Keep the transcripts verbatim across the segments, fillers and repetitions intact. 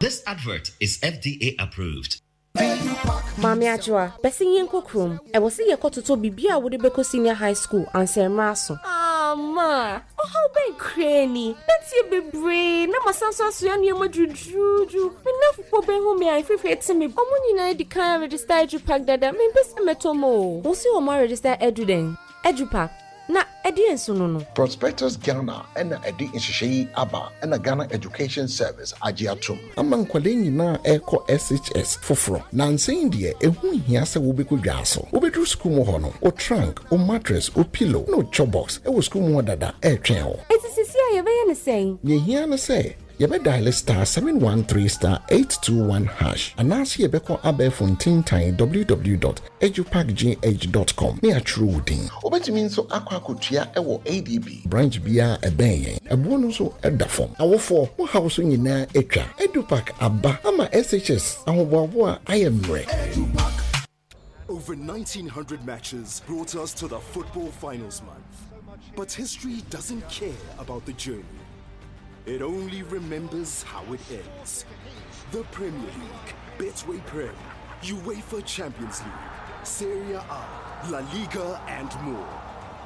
This advert is F D A approved. Maame Adwoa, bɛsɛ yɛnkɔ kurom. Ɛwɔ sɛ yɛkɔtotɔ biribi a wode bɛkɔ senior high school ansɛmmerɛ so. Ama ɔhaw bɛn koraa ni? Bɛtie bebree na masan so asoa nneɛma duruduruduru. Me nnamfofoɔ bɛhu me a, mfifiri te me. Ɔmo nyinaa di kan register EduPack dada. Mempɛ sɛ mɛtɔ mo o. Wo si wɔn aregister edu dɛn? EduPack na ɛdeɛ nso no no Prospectus Ghana ɛna ɛde nhyehyɛ yi aba, ɛna Ghana Education Service agye atom. Ama nkwadaa nyinaa ɛrekɔ S H S foforɔ nansa deɛ, ɛho hia sɛ wobɛkɔ dwa so. Wobɛduru sukuu mu hɔ no, wo trunk, wo mattress, wo pillow na wo chop box ɛwɔ sukuu mu hɔ dada ɛretwɛn wo. Eti sisi a yɛbɛyɛ ne sɛn? Nea ehia ne sɛ yɛbɛdial star seven one three star eight two one hash anaasɛ yɛbɛkɔ abɛɛfo ntintan w w w dot edupackgh dot com ne atwerɛ wo din. Wobɛtumi nso akɔ akɔtua ɛwɔ A D B branch biara ɛbɛn yɛn. Ɛboɔ no nso ɛda fam. Awofoɔ, mo haw so nyinaa atwa. EduPack aba ama S H S ahoboaboa ayɛ mmerɛ. Over nineteen hundred matches brought us to the football finals month. But history doesn't care about the journey. It only remembers how it ends. The Premier League, Betway Prem, UEFA Champions League, Serie A, La Liga, and more.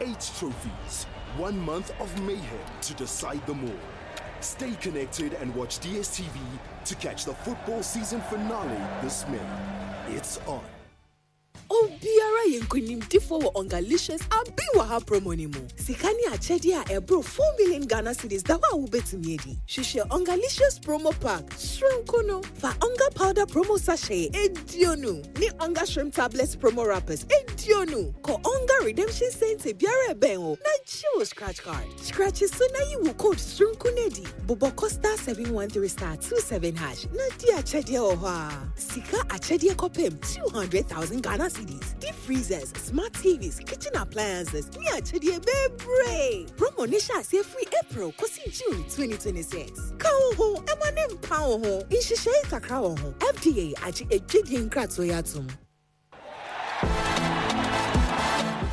Eight trophies, one month of mayhem to decide them all. Stay connected and watch D S T V to catch the football season finale this May. It's on. Obiara yɛ nkonimdifoɔ wɔ Ongalicious Abi Wɔ Ha promo ni mu. Sika ne akyɛdeɛ a ɛboro four million Ghana cedis da hɔ a wobɛtumi adi. Hwehwɛ Ongalicious promo pack soronko no. Fa Onga powder promo sachet eduonu ne Onga shrimp tablets promo wrappers eduonu kɔ Onga redemption center biara ɛbɛn wo na gye wo scratch card. Scratch so na yi wo code soronko no adi. Bobɔ kɔ star seven one three star two seven hash na di akyɛdeɛ wɔ hɔ a sika akyɛdeɛ kɔpem two hundred thousand Ghana cedis, deep freezers, smart T Vs, kitchen appliances ne akyɛdeɛ bebree. Promo ne hyɛ aseɛ firi April kɔsi June twenty twenty-six. Ka wo ho ɛma ne mpa wo ho. Nhyehyɛe kakra wɔ ho. F D A agye adwadie nkratoɔ yi atom.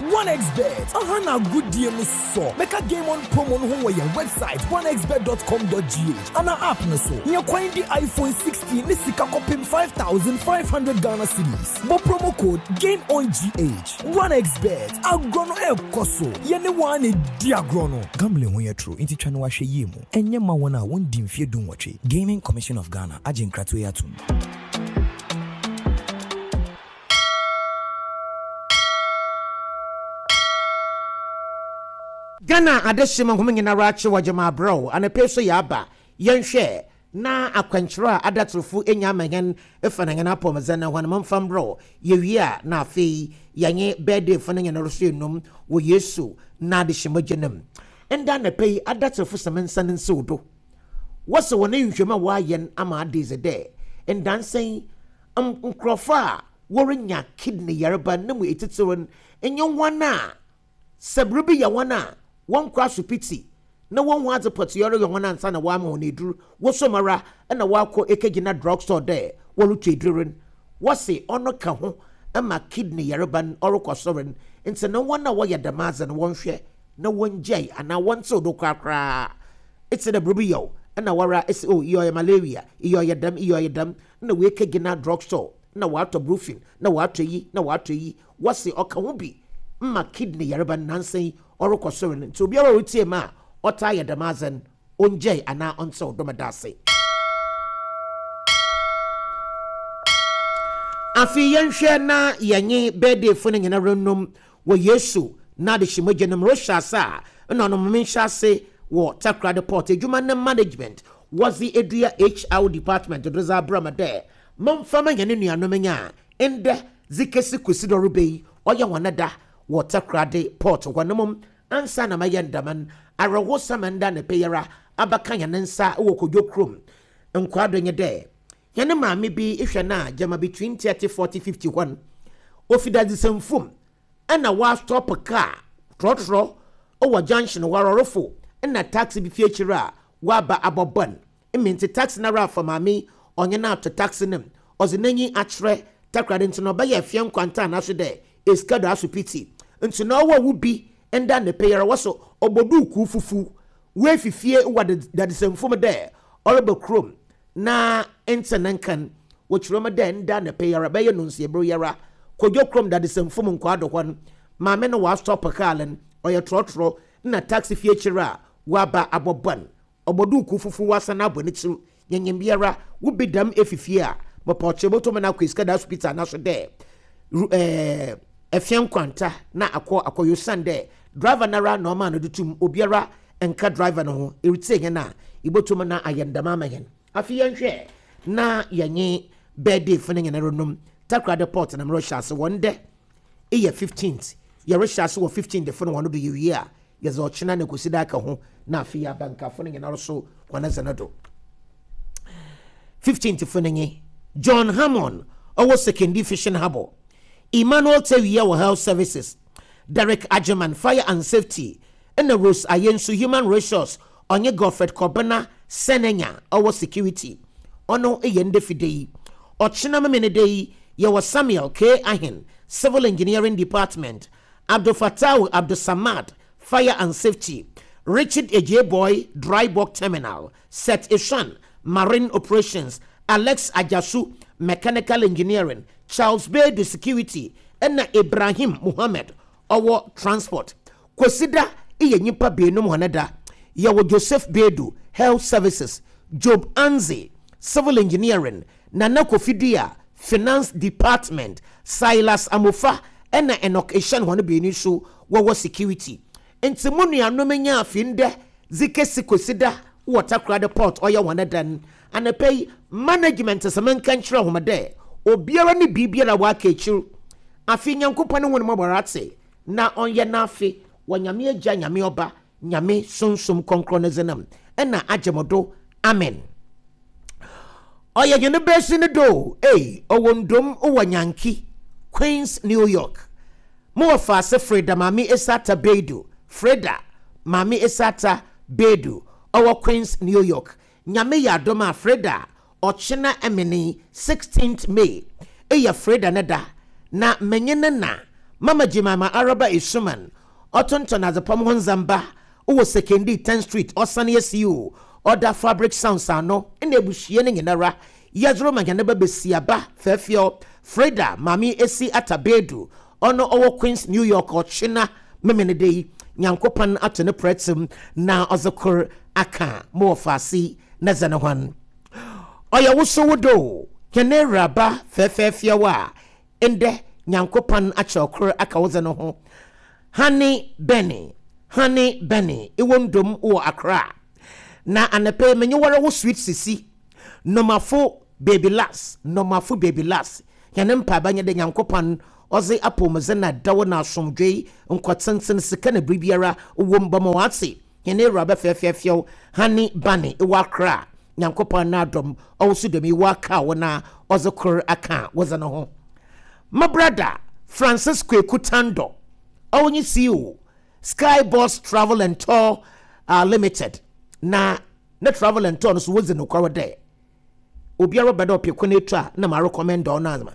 one x Bet aha na agodie no sɔ. Bɛka Game On promo no ho wɔ yɛn website one x bet dot com dot g h ana app no so. Nyɛ kwan di iPhone sixteen ne sika kɔpem five thousand five hundred Ghana cedis. Bɔ promo code Game On G H. one x Bet, agorɔ no ɛrekɔ so. Yɛne wɔn a na di agorɔ no. Gambling ho yɛ toro, nti twa no wahwɛ yie mu. Ɛnyɛ ma wɔn a wɔndi mfeɛ du nwɔtwe. Gaming Commission of Ghana agye nkratoɔ yi atom. Ghana adehyema nhoma nyinara akye wɔ gyama abrɛw anapɛ so. Yɛ aba yɛnhwɛ na akwankyerɛ a adatorofo anya ama hɛn ɛfa na hɛn apɔmudzen na hɔn momfa mbrɛw. Yɛwie a, na afei yɛnye birthday fo no nyinara so enum wɔ Yesu na adehyema gye nam. Nda anapɛ yi, adatorofo sɛm nsa no nsiw do. Wɔsɛ wɔn nhwehwɛmu a wɔayɛ ama ade dze dɛ ndansan nkurɔfo a wɔrenya kidney yareba ne mu etitiriw no nyɛ wɔn a sɛ biribi yɛ wɔn a wɔnkɔ asopiti na wɔn ho adze pɔtee ɔreyɛ wɔn ansa na wɔama wɔn eduru. Wɔsom ara ɛna wɔakɔ ekegyina drug store dɛ wɔretɔ eduru no. Wɔsi ɔno ka ho ama kidney yareba no ɔrekɔ soro no. Nti na wɔn a wɔyɛ dɛm adze no, wɔnhwɛ na wɔngyae anaa wɔntew do korakoraa. Eti na biribi yɛ o ɛna wɔra esi o, iye ɔyɛ malaria, iye ɔyɛ dɛm, iye ɔyɛ dɛm, na wɔekegyina drug store na wɔatɔ Brufen na wɔatɔ yi na wɔatɔ yi. Wɔsi ɔka ho bi mma kidney yareba no nansa yi ɔrekɔ soro no. Nti obiara a ɔretie mu a ɔtaa yɛ dɛm adze no, ɔngyae anaa ɔntew dɔm da ase. Afei yɛnhwɛ na yɛnye birthday fo no nyinaa renum wɔ Yesu na adehyemogya no mu. Rehyɛ ase a, ɛna ɔno menhyɛ ase wɔ Takoradi Port adwuma ne management wɔdze edua H R department do dze abrɛ me dɛ momfa ma yɛne nuanom nya a ndɛ dze kesi kwesi dɔreba yi ɔyɛ wɔn da wɔ Takoradi Port hɔ no mom. Ansa na mɛyɛ ndama no, awerɛhosɛm nda ne pɛyɛra abɛka yɛn nsa wɔ Kodwo kurom nkwado nye dɛ yɛne maame bi hwɛ no a gyama between thirty, forty, fifty hɔ no, ofi dadesɛmfom ɛna wastop car trɔtrɔ wɔ junction hɔ arɔrɔfo, ɛna taxi bi fi akyire a waba abɔbɔ no mme. Nti taxi no ara afa maame, ɔnye no ato taxi no mu, ɔdze n'enyi akyerɛ Takoradi. Nti na ɔbɛyɛ efie nkwanta anaso dɛ esika do asopiti. Nti na ɔwɔ wo bi nda ne pɛyɛrɛ wɔ so ɔbɔ duukuu fufu woefifie wɔ dadesɛmfom dɛ ɔreba kurom. Na ntɛ ne nkan wɔkyerɛ mu dɛ nda ne pɛ yara bɛyɛ no nsiebere yara Kodwo kurom dadesɛmfo mu nkwaado hɔ no, maame no wɔastop kaa no, ɔyɛ trɔtrɔ na taxi fie akyire a waba abɔbɔn ɔbɔduuku fufuo wasan abɔ ne tiri. Yɛnyɛ biara wobi dam efifie a mɔpɔkyɛ bɔtɔm na akɔ esika da hospital na so dɛ ɛɛ ɛfia nkwanta na akɔ akɔyɔ san dɛ driver nara na ɔma no de tum obiara nka driver no ho eretie yɛn a ibotum na ayɛ ndama ama yɛn. Afi yɛnhwɛ na yɛnye birthday fo no nyinaa nom Takoradi Port na mmerɛ hyɛ ase wɔn dɛ eyɛ fifteenth, yɛrehyɛ ase wɔ fifteen de fo no wɔn do. Yɛwie a yɛdze ɔkyena na kosi da aka ho na afei abankafo no nyinaa so wɔn ɛdze no do. Fifteenth fo no nye John Hammond, ɔwɔ Sekondi Fishing Harbour, Emmanuel Tewia wɔ Health Services, Derek Agyeman, Fire and Safety, ɛna Rose Ayensu, Human Resource, ɔnye Godfred Kɔbena Sɛnɛnya ɔwɔ Security. Ɔno yɛ ndɛ fide yi. Ɔkyena memene de yi yɛwɔ Samuel K Ahen, Civil Engineering Department, Abdul Fatawu Abdul Samad, Fire and Safety, Richard Ejeboy, Dry Bulk Terminal, Seth Ishan, Marine Operations, Alex Ajasu, Mechanical Engineering, Charles Bedu, Security, ɛna Ibrahim Muhammad ɔwɔ Transport. Kwesida yɛ nyimpa beenum hɔn da. Yɛwɔ Joseph Bedu, Health Services, Job Anze, Civil Engineering, Nana Kofi Dua, Finance Department, Silas Amofa ɛna Enoch Ehyɛn, hɔn beenu so wɔwɔ Security. Nti mu nuanom nya afi ndɛ dze kesi Kwesida wɔ Takoradi Port ɔyɛ hɔn dan anapa yi management sɛ menka nkyerɛ hom dɛ obiara ne biribiara waka akyir. Afi Nyankopɔn ne ho no mɔbɔrɔ ate na ɔnyɛ n'afe wɔ Nyame Agya, Nyame Ɔba, Nyame Sunsum Kɔnkrɔn ne dzenam ɛna agye mo do, amen. Ɔyɛ hɛn bɛsi ne do ei, ɔwɔ ndom wɔ Nyanki, Queens, New York. Mowɔ faase Freda Maame Esata Bedu, Freda Maame Esata Bedu ɔwɔ Queens, New York. Nyame yɛ adom a, Freda, ɔkyena ɛmene sixteenth May ɛyɛ Freda ne da na menye ne na Mama Jemima Araba Esuman ɔtontɔn adzepam ho ndzɛmba wɔ Sekondi tenth Street, ɔsane asi o ɔda Fabric Sounds ano, ɛna abusua no nyinara yɛdoro ma hɛn ba besiaba fɛɛfɛw Freda Maame Esi Atabedu ɔno ɔwɔ Queens, New York. Ɔkyena memene de yi Nyankopɔn ato ne prɛtem na ɔdze kor aka ma wɔ faase na dze ne hɔn ɔyɛ woso wo do hɛn awuraba fɛɛfɛɛfɛw a ndɛ Nyankopɔn akyerɛw kor aka wo dze no ho. Honey Benny, Honey Benny ɛwɔ ndom wɔ Accra na anapɛ menye wɔre wo sweet sisi nomafo baby las, nomafo baby las. Hɛn mpaaba nyɛ dɛ Nyankopɔn ɔdze apɔmudze na dawo na asomdwee nkɔtenten sika na biribiara wɔ mu bɛma wɔate. Hɛn awuraba fɛɛfɛɛfɛw Honey Bunny ɛwɔ Accra, Nyankopɔn n'adɔm ɔwɔ so dɛm yi wɔaka wo na ɔdze kor aka wɔdze no ho. My brother Francis Kweku Tando ɔwɔ C E O Sky Boss Travel and Tour uh, Limited na ne travel and tour no so wodzi nokware dɛ obiara bɛ dɛ ɔpɛ kwan etu a na ma recommend ɔno ama.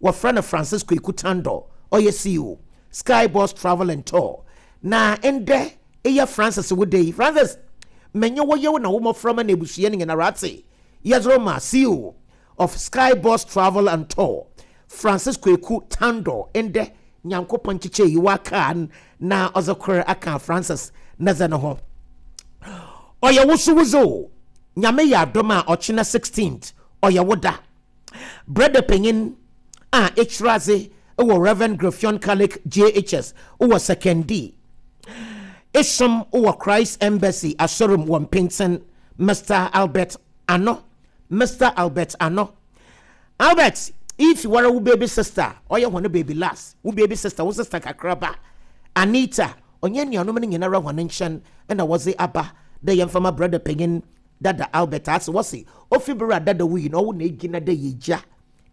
Wɔfrɛ no Francis Kweku Tando, ɔyɛ C E O Sky Boss Travel and Tour. Na ndɛ ɛyɛ Francis wo day. Francis, mɛnyɛ wɔyɛ wo na wo mmɔframma na ebusua no nyinara ate. Yɛdoro ma C E O of Sky Boss Travel and Tour Francis Kweku Tando. Ndɛ Nyankopɔn kyekyɛ yi waka na ɔdze kor aka Francis ne dze no ho. Ɔyɛ wo so wodze o, Nyame yɛ adom a ɔkyena sixteenth ɔyɛ wo da. Brɛda panyin a ɛkyerɛ ase wɔ Reverend Graphion Catholic J H S wɔ Sekondi, esom wɔ Christ Embassy asɔrum wɔ Mpinten, Mister Albert Ano, Mister Albert Ano. Albert, if wara wo baby sister ɔyɛ hɔn baby last, wo baby sister, wo sister kakraba Anita, ɔnyɛ nuanom no nyinara hɔn nkyɛn ɛna wɔdze aba dɛ yɛmfama brother panyin dada Albert ase. Wɔse ofi bere a dada wuyi na ɔwo na egyina dɛ yɛgya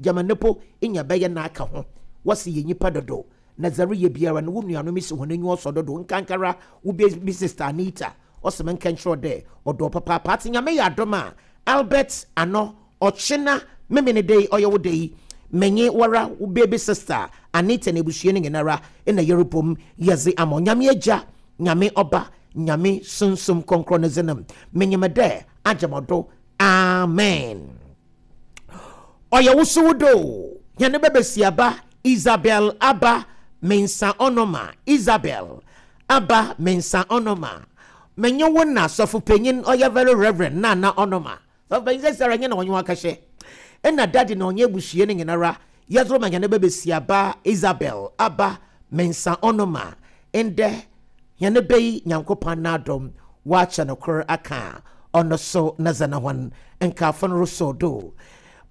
gyama nepo nya bɛyɛ n'aka ho. Wɔse yɛ nyipa dodo na dzare yɛ biara no wo nuanom si hɔn enyi ɔsɔ dodo, nkankara wo baby sister Anita. Ɔsɛ menka nkyerɛ dɛ ɔdɔ papaapa ate. Nyame yɛ adom a, Albert Ano, ɔkyena memene de ɔyɛ wo de yi, menye wara wo baby sister Anita na ebusua no nyinara ɛna yɛrebom yɛdze ama Nyame Agya, Nyame Ɔba, Nyame Sunsum Kɔnkrɔn ne dzenam. Menyim dɛ agyamɔdo. Amen. Ɔyɛ wo so wo do yɛne bɛbɛsiaba Isabel Aba Mensa Ɔnoma. Isabel Aba Mensa Ɔnoma, menye wo na sɔfo panyin ɔyɛ Very Reverend Nana Ɔnoma. Sɔfo panyin sɛ sara nyɛ na ɔnye wakɛhyɛ ɛna dade na ɔnyɛ abusua no nyinara yɛdoro ma yɛne bɛbɛsiaba Isabel Aba Mensa Ɔnoma. Ndɛ yɛne bɛyi Nyankopɔn n'adɔm wakyɛ no kor aka ɔno so na zana hɔn nkaafo no resɔ do.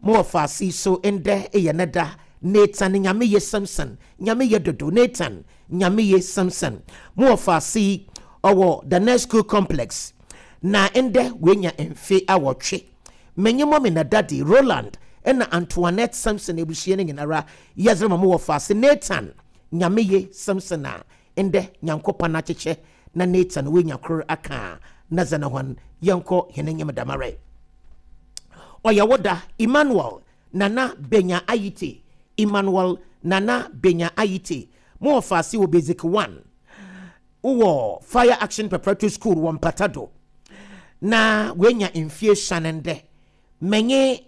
Mo wɔ faase so ndɛ ɛyɛ ne da. Nathan Nyame Ye Samson, Nyame Ye Dodo, Nathan Nyame Ye Samson, mo wɔ faase ɔwɔ the next school complex na ndɛ wenya mfe awɔtwe. Menye mɔmi na daddy Roland ɛna Antoinette Samson ebusua no nyinara yɛdze ma mo wɔ faase Nathan Nyame Ye Samson a ndɛ Nyankopɔn akyekyɛ na Nathan wenya kor aka na zana hɔn. Yɛnkɔ hɛn enyim damare. Ɔyɛ wo da Emmanuel Nana Benya Ayite. Emmanuel Nana Benya Ayite, mo wɔ faase wɔ basic one wowɔ Fire Action Preparatory School wɔ Mpata do na wenya mfie sane. Ndɛ menye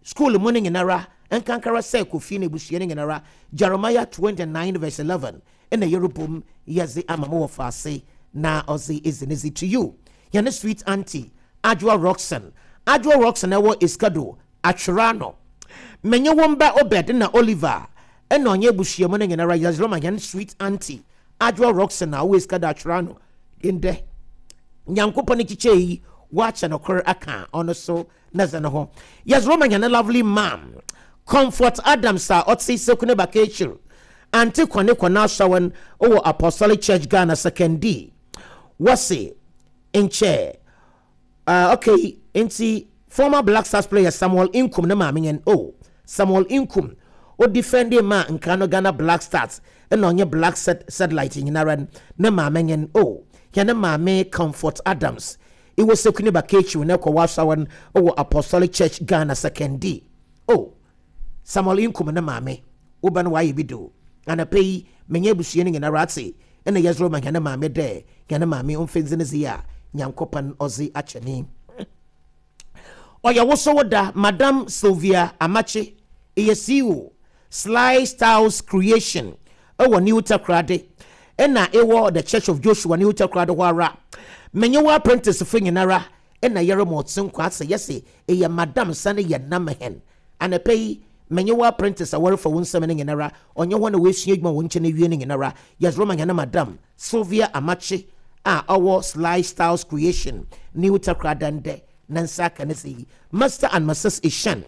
school mu no nyinara nkankara sɛ Kofi no abusua no nyinara Jeremiah twenty-nine verse eleven ɛna yɛrebom yɛdze ama mo wɔ faase na ɔdze ezi ne to you. Yɛne sweet auntie Adwoa Roxon. Adwoa Roxon ɛwɔ Iskado Atwerano. Menye wɔn ba Obed na Oliver ɛna ɔnyɛ abusua mu no nyinara yɛdze ma yɛn sweet auntie Adwoa Roxon a ɔwɔ Iskado Atwerano. Ndɛ Nyankopɔn ne kyekyɛ yi wakyɛ no kor aka ɔno so na dze ne ho yɛdze ma yɛn lovely mam Comfort Adams a ɔte Sekune Bakekyir. Ante kɔne kɔne asawan ɔwɔ Apostolic Church Ghana Sekondi. Wɔse nkyɛ uh, okay, nti former Black Stars player Samuel Inkum ne maame yɛn oh Samuel Inkum o defending ma nkano Ghana Black Stars ɛna ɔnyɛ Black set satellite nyinara ne maame yɛn oh yɛn ne maame Comfort Adams iwɔ Sekuni Bakechi ne kɔ wasawan ɔwɔ Apostolic Church Ghana Sekondi. Oh, Samuel Inkum ne maame woba no wayɛ bi do anapa yi menye abusua no nyinara ate ɛna yɛsoro ma yɛne maame dɛ yɛne maame ɔmfɛnzi ne zi a Nyankopɔn ɔdze akyɛ. Ɔyɛ woso wo da Madam Sylvia Amache, ɛyɛ C E O Sly Styles Creation ɛwɔ New Takoradi ɛna ɛwɔ The Church of Joshua New Takoradi hɔ ara. Menye wɔ apprentice fo nyinara ɛna yɛrɛ ma ɔte nkwa asɛ yɛsɛ ɛyɛ madam sane yɛ nam hɛn anapa yi. Menye wɔ apprentice a wɔrefa wo nsɛm no nyinara ɔnyɛ hɔ na wɔasua adwuma wɔ nkyɛn awie no nyinara yɛsoro ma yɛne Madam Sylvia Amakye a ɔwɔ Sly Styles Creation New Takoradi ndɛ ne nsa aka ne sɛ yi Mister and Missus Ishan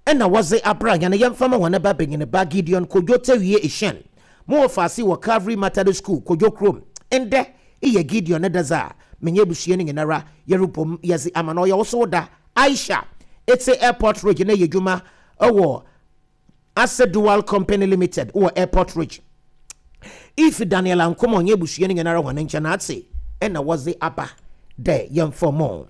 ɛna wɔdze abra yɛn yɛmfa ma wɔn ba benyin ba Gideon Kodwo Tewie Ishan, mo wɔ faase wɔ Calvary Methodist School Kodwo kurom. Ndɛ iyɛ Gideon ne dza a menye abusua no nyinara yɛrebom yɛdze ama no. Ɔyɛ wo so da Aisha ete Airport Ridge na yɛ adwuma ɛwɔ Ase Dual Company Limited wɔ Airport Ridge. If Daniel Ankoma ɔnyɛ abusua no nyinara hɔn nkyɛn ate ɛna wɔdze aba dɛ yɛmfa mo.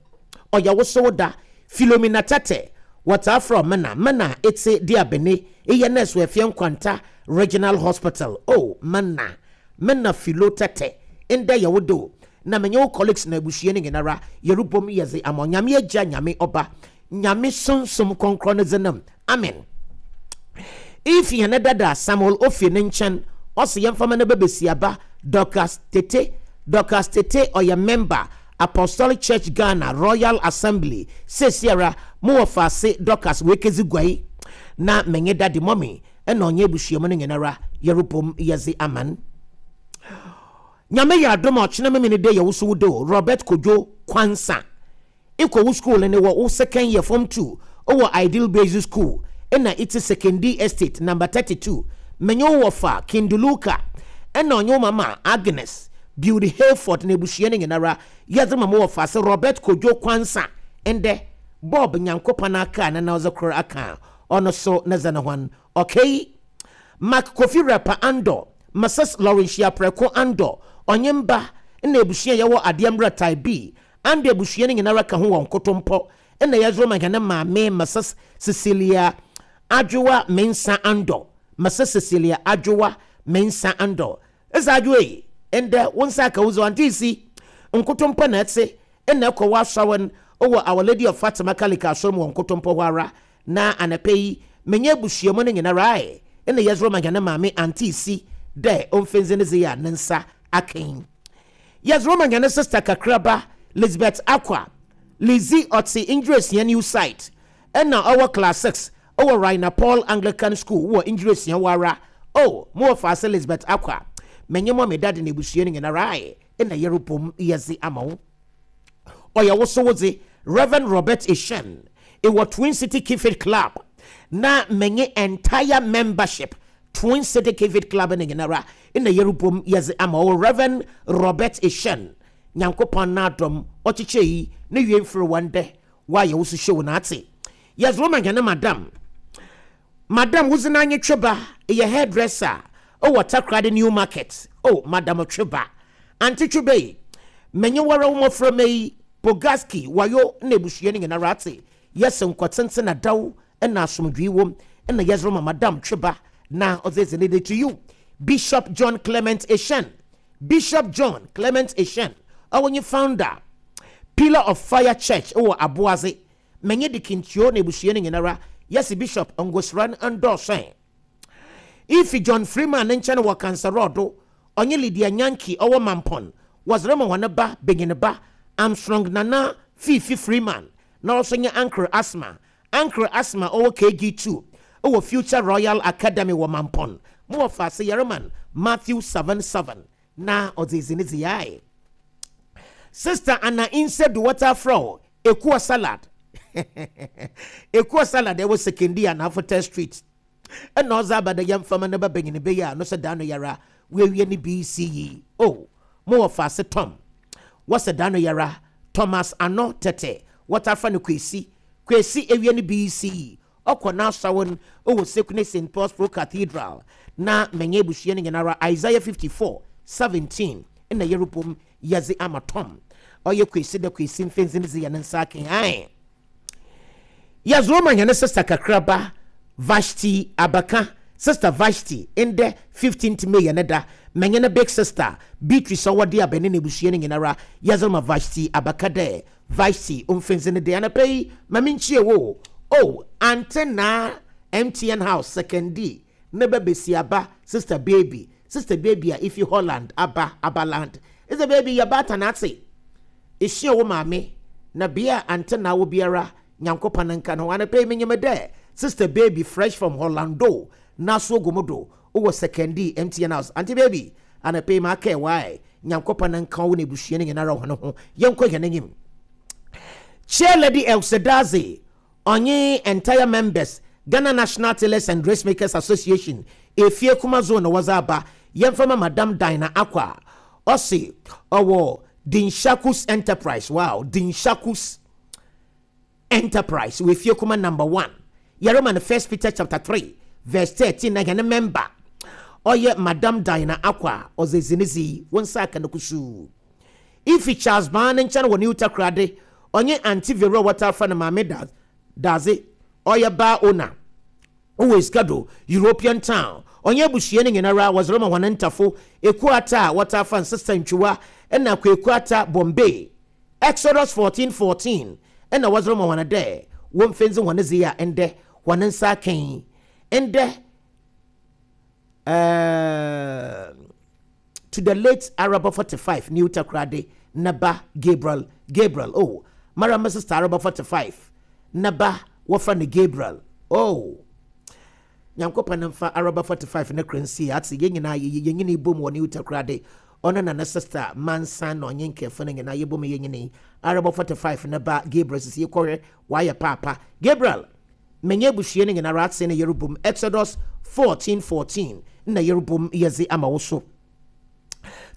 Ɔyɛ wo so da Philomena Tete, wɔtaa frɛ Mena Mena ete di abene eyɛ nurse wɔ Efie Nkwanta Regional Hospital. Oh, Mena Mena Philo Tete, ndɛ yɛ wo do na menye wo colleagues na abusua no nyinara yɛrebom yɛdze ama Nyame Agya, Nyame Ɔba, Nyame Sunsum Kɔnkrɔn no dze nam. Amen. If yɛn dada Samuel Ofie ne nkyɛn ɔsi yɛmfama no bɛbɛsiaba Dorcas Tete. Dorcas Tete ɔyɛ member Apostolic Church Ghana Royal Assembly. Sesiara mo wɔ faase Dorcas wekezi guai na menye daddy mɔmi ɛna ɔnyɛ abusua mu no nyinara yɛrebom yɛdze aman. Nyame yɛ adom a ɔkyena meme ne de yɛ wo so wo do Robert Kojo Kwansa ikɔ wo school ne wɔ wo second year form two ɔwɔ Ideal Basic School ɛna iti Sekondi Estate number thirty-two. Menye wo wɔfa Kinduluka ɛna ɔnye wo mama Agnes Beauty Hayford na ebusua no nyinara yɛdze ma mo wɔ fa sɛ Robert Kojo Kwansa. Ndɛ Bob Nyankopɔn aka na na ɔdze kor aka ɔno so ne dze ne hɔn. Okay, Mark Kofi Rapper Andor, Missus Laurentia Preko Andor ɔnye mba na ebusua yɛwɔ adeɛ mmerɛ type B ando ebusua no nyinara ka ho wɔ nkotompɔ ɛna yɛdze ma hɛn maame Missus Cecilia Adwoa Mensa Andor. Missus Cecilia Adwoa Mensa Andor ɛsɛ adwoa yi ndɛ wo nsa aka wo dze ante si nkotompɔ na ɛte ɛna ɛkɔ wɔ asawan Ɔwɔ Our Lady of Fatima Kalika asɔre mu wɔ Nkotompɔ hɔ ara. Na anapa yi menye abusuamu no nyinara ae ɛna yɛsoro ma hɛn maame Auntie Si dɛ ɔmfɛnzi ne dze a ne nsa akan. Yɛsoro ma hɛn sister kakraba Elizabeth Akwa Lizzie, ɔte Ndwuresia New Site, ɛna ɔwɔ class six ɔwɔ Raina Paul Anglican School wɔ Ndwuresia wɔ ara. O mo wɔ faase Elizabeth Akwa, menye mo me dade na ebusua no nyinara ae ɛna yɛrebom yɛdze ama wo. Ɔyɛ wo so wodze Reverend Robert Eshen ɛwɔ Twin City Keep Club, na menye entire membership Twin City Keep Club no nyinara ɛna yɛrebom yɛdze ama wo. Reverend Robert Eshen, Nyankopɔn n'adɔm ɔkyekyɛ yi ne wie mfiri wɔn dɛ wayɛ wo so hyɛ wo n'ate. Yɛsoro ma hɛn madam madam wodzi n'anye Tweba, ɛyɛ hairdresser ɔwɔ Takoradi New Market. Oh, Madam Tweba, Auntie Tweba yi, menye wɔrɛ wo mmɔframma yi Pogaski wayo na ebusua no nyinara ate. Yɛsɛ nkɔtenten na daw ɛna asomdwee wom ɛna yɛsoro ma Madam Tweba na ɔdze dze ne de. To you, Bishop John Clement Eshen, Bishop John Clement Eshen, ɔwɔ nye founder Pillar of Fire Church ɛwɔ Aboadze, menye de kintuo na ebusua no nyinara yɛsi Bishop ngosra no ndɔɔso. Ifi John Freeman ne nkyɛn wɔ Kansarɔdo, ɔnye Lydia Nyanki ɔwɔ Mampɔn, wɔsere ma wɔn ba benyin ba Armstrong Nana Fifi Freeman, na ɔso nye Uncle Asma, Uncle Asma ɔwɔ K G two ɛwɔ Future Royal Academy wɔ Mampɔn. Mo wɔ faase Yɛreman Matthew seven seven na ɔdze ezi ne dze. Sister Anna Insedu water fro Ekua Salad, Ekua Salad ɛwɔ Sekondi Anafota Street, ɛna ɔdze aba dɛ yɛmfama ne ba benyin bɛyɛ a no sɛ da no yara wɔawie ne B C E. O mo wɔ faase Tom, wɔsɛ da no yara Thomas Ano Tete wɔtafa no Kwesi, Kwesi ewie ne B C E, ɔkɔ n'asawo no ɛwɔ Sekune Saint Paul's Pro Cathedral, na menye abusua no nyinara Isaiah fifty-four seventeen ɛna yɛrebom yɛdze ama Tom ɔyɛ Kwesi dɛ Kwesi mfɛnsi ne dze yɛ ne nsa ake. Yɛzoro ma yɛne sister kakraba Vashti Abaka, Sister Vashti, ndɛ fifteenth May yɛ ne da. Mɛnyɛ ne big sister Beatrice ɔwɔde abɛne ne abusua no nyinara yɛzoro ma Vashti Abaka dɛ Vashti ɔmfɛnsi ne de. Anapa yi ma menkyie wo o, Ante na M T N House Sekondi ne ba besi aba, Sister Baby, Sister Baby a ifi Holland aba, Abaland. Sister Baby, yɛ baata n'ate esua wo maame na bea ante na wo biara Nyankopɔn nka no. Anapa yi menyim dɛ Sister Baby fresh from Hollando naso ogu do wowɔ Sekondi M T N House. Auntie Baby, anapa yi ma aka wae Nyankopɔn nka wo na ebusua no nyinara ho no ho. Yɛnkɔ yɛn anim. Chair Lady Elsedaze ɔnye entire members Ghana National Tailors and Dressmakers Association Efie Kuma Zone na wɔdze aba yɛmfama Madam Dina Akwa, ɔse ɔwɔ Dinshakus Enterprise. Wow, Dinshakus Enterprise wɔ Efie Kuma Number one. Yɛrema no First Peter chapter three verse thirteen na yɛne member ɔyɛ Madam Dina Akwa ɔdze zinezi wɔn nsa aka no kusuu. Ifi Charles Ban ne nkyɛn wɔ New Takoradi, ɔnye Auntie Vero wɔtafa no maame da daze ɔyɛ bar owner ɔwɔ Esikado European Town, ɔnyɛ abusua no nyinara wɔdze rema wɔn ntafo Ekuata a wɔtafa nsesa ntwiwa ɛna Kwekuata Bombay. Exodus fourteen fourteen ɛna wɔdze rema wɔn dɛ wɔmfɛnzi wɔn dze a ɛndɛ wɔn nsa akɛn ɛndɛ. ɛɛɛ to the late Araba forty-five New Takoradi naba Gabriel, Gabriel, oh, mara my sister Araba forty-five naba wɔfa no Gabriel. Oh, Nyankopɔn mfa Araba forty-five ne kransi ate yɛn nyinaa yɛn nyinaa bom wɔ New Takoradi. Ɔno na ne sister Mansa na ɔnye nkɛfo no nyinaa yɛbom yɛn nyinaa Araba forty-five ne ba Gabriel sisi yɛkɔhwɛ wayɛ paapa. Gabriel, menye abusua no nyinaa ate na yɛrebom Exodus fourteen fourteen na yɛrebom yɛdze ama wo so.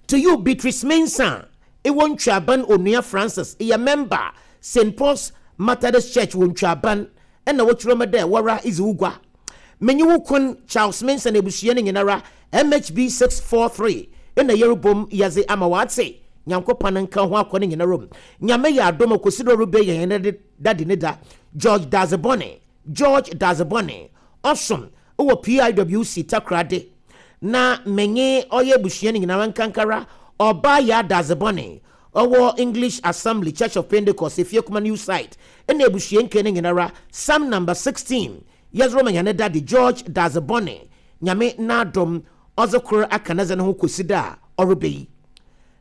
To you, Beatrice Mensah ɛwɔ Ntwaban, Onua Francis ɛyɛ member Saint Paul's Methodist Church wɔ Ntwaban, ɛna wɔtwerɛ mu dɛ wɔra izi wo gua. Menye wo kun Charles Mensah na abusua no nyinara M H B six four three ɛna yɛrebom yɛdze ama wɔate. Nyankopɔn nka ho akɔ no nyinara mu. Nyame yɛ adom kɔsi dɛ ɔrebɛ yɛn ne dade ne da. George Dazebɔne, George Dazebɔne ɔsom wɔ P I W C Takoradi, na menye ɔyɛ abusua no nyinara nkankara ɔbaa yɛ adazebɔne Ɔwɔ English Assembly Church of Pentecost, Efie Kuma New Site, ɛna ebusua nke ne nyinara. Psalm number sixteen yɛdze rema hɛn daddy George Dazebɔne. Nyame n'adom ɔdze kor aka ne dze ne ho kɔsi da a ɔreba yi.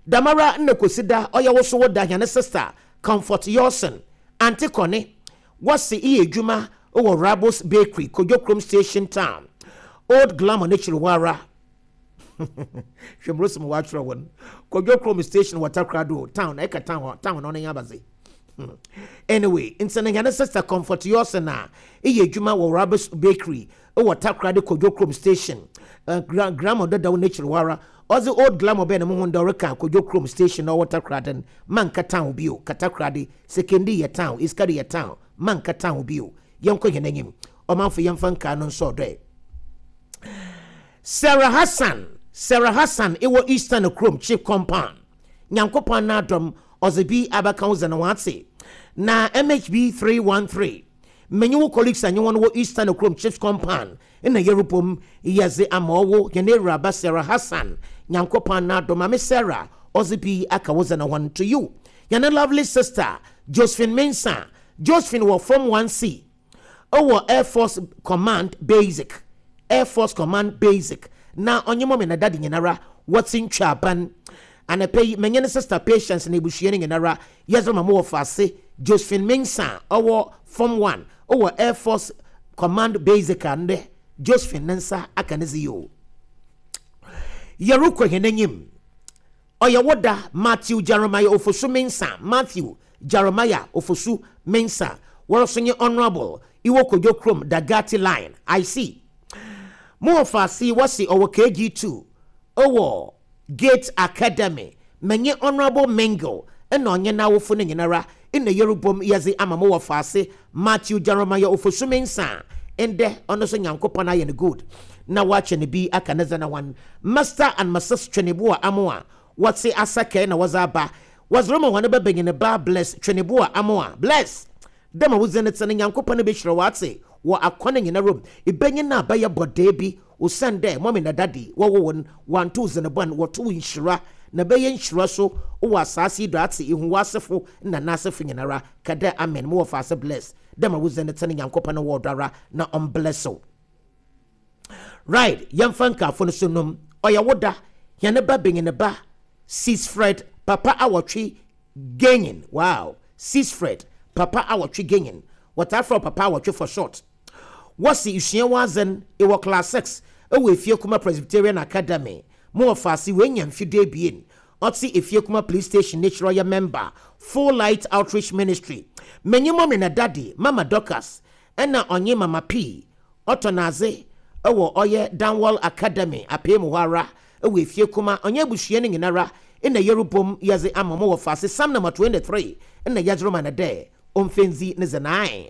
Damara nna kɔsi da ɔyɛ wo so wo da, hɛn sister Comfort Yawson, Auntie Kɔne, wɔsi iye edwuma wɔ Rabos Bakery, Kodwo Station Town, Old Glamour n'ekyir hɔ ara. Hwɛ mmorosi mu wɔatwerɛ wɔn Kodwo Kurom Station wɔ Takoradi town, ɛka town hɔ, town na ɔno nyɛ abaze. Anyway, nti no hɛn sister Comfort Yawson a ɛyɛ adwuma wɔ Rabos Bakery wɔ Takoradi Kodwo Kurom Station, uh, Glamour dadaw n'ekyir hɔ ara. Ɔdze Old Glamour bɛn ne mo ho ndɛ ɔreka Kodwo Kurom Station na ɔwɔ Takoradi no, manka town bio. Katakoradi Sekondi yɛ town, Iskari yɛ town, manka town bio. Yɛnkɔ hɛn anim, ɔmanfo, yɛmfa nkaa no nso ɔdɔɛ. Sarah Hassan, Sarah Hassan ɛwɔ Eastern Kurom Chief Compound, Nyankopɔn n'adɔm ɔdze bi abaka wo zɛn wate na M H B three one three. Menye wo colleagues anyi wɔn wɔ Eastern Kurom Chief Compound ɛna yɛrebom yɛdze ama ɔwo yɛn awuraba Sarah Hassan. Nyankopɔn n'adɔm, Maame Sarah, ɔdze bi aka wo zɛn wɔn to you. Yɛn lovely sister Josephine Mensah, Josephine wɔ Form one C ɛwɔ Air Force Command Basic, Air Force Command Basic, na ɔnye mɔmi na daddy nyinara wɔte ntwa aban anapɛ yi. Menye ne sister Patience na ebusua no nyinara yɛdze ma mo wɔ faase Josephine Mensah ɔwɔ Form one ɔwɔ Air Force Command Basic a ndɛ Josephine ne nsa aka ne dze yi o. Yɛrekɔ hɛn anim, ɔyɛ wo da Matthew Jeremiah Ofosu Mensah, Matthew Jeremiah Ofosu Mensah, wɔrɔso nye Honourable iwɔ Kodwo Kurom Dagati Line. I see mo wɔ faase wɔsi ɔwɔ K G two ɔwɔ Gate Academy. Menye Honourable Mingle ɛna ɔnye n'awofo no nyinara ɛna yɛrebom yɛdze ama mo wɔ faase Matthew Jeremiah Ofosu Mensah. Ndɛ ɔno nso Nyankopɔn ayɛ no good na wakyɛ ne bi aka ne zana one. Mister and Missus Tweneboa Amoa wɔte asakɛ na wɔdze aba, wɔdze rema wɔn bɛbɛnyin ba Bless Tweneboa Amoa. Bless, dɛm a wodzi ne te no, Nyankopɔn bɛhyira wɔate wɔ akwan nyinara mu. Ìbɛnyin na abɛyɛ bɔdee bi osiane dɛ mummy na daddy wɔwɔ wɔn wanto zenebɔn, wɔto nhyira na bɛyɛ nhyira so wɔ asase yi do ate ihu w'asefo na n'asefo nyinara kada. Amen. Mo wɔ faase Bless, dɛm a wodzi ne te no, Nyankopɔn wɔ ɔdɔ ara na ɔmbless wo. Right, yɛmfa nkaafo no so nom. Ɔyɛ wo da, yɛne ba benyin ba Sisfred Papa Awɔtwe Genyin. Wow, Sisfred Papa Awɔtwe Genyin, wɔtaa frɛ Papa Awɔtwe for short. Wɔsi esua wadzen ɛwɔ class six ɛwɔ Efie Kuma Presbyterian Academy. Mo wɔ faase wɔanya mfidie ebien. Ɔte Efie Kuma Police Station n'ekyir. Ɔyɛ member Full Light Outreach Ministry. Menye mummy na daddy, Mama Dorcas ɛna ɔnye Mama P, ɔtɔ n'adze ɛwɔ ɔyɛ Danwell Academy apee mu hɔ ara ɛwɔ Efie Kuma. Ɔnyɛ abusua no nyinara ɛna yɛrebom yɛdze ama mo wɔ faase. Psalm number twenty-three ɛna yɛdze rema no dɛ ɔmfɛndzi ne dze nine.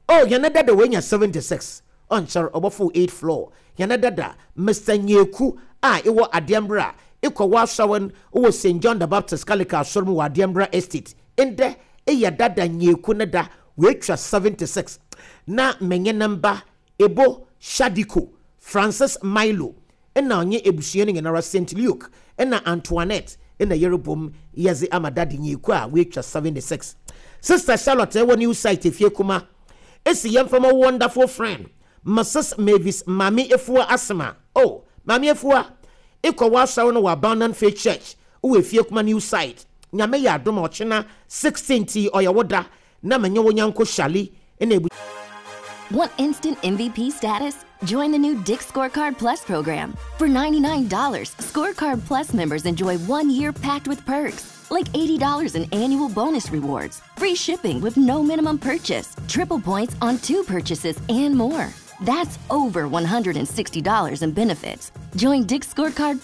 Oh, yɛn dada wɔanya seventy-six, ɔnkyɛr ɔbɔfo eight floor. Yɛn dada Mister Nyeku a ɛwɔ Adeɛmbra ekɔ wɔ wɔ Saint John the Baptist Catholic asɔre mu wɔ Adeɛmbra Estate, ndɛ ɛyɛ dada Nyeku ne da, wɔatwa seventy-six. Na menye ne mba Ebo Shadiko, Francis Milo, ɛna ɔnye ebusua no nyinara, Saint Luke ɛna Antoinette, ɛna yɛrebom yɛdze ama daddy Nyeku a wɔatwa seventy-six. Sister Charlotte ɛwɔ New Site Efie Kuma esi yɛmfama wonderful friend Missus Mavis Maame Efua Asema. Oh, Maame Efua, ekɔ w'asɔre no wɔ Abundant Faith Church wɔ Efie Kuma New Site. Nyame yɛ adom a ɔkyena sixteen ti ɔyɛ wo da na menye wo nyanko Shali ɛna ebu. Want instant M V P status? Join the new Dick's Scorecard Plus program. For ninety-nine dollars, Scorecard Plus members enjoy one year packed with perks, like eighty dollars in annual bonus rewards, free shipping with no minimum purchase, triple points on two purchases, and more. That's over one hundred sixty dollars in benefits. Join Dick's Scorecard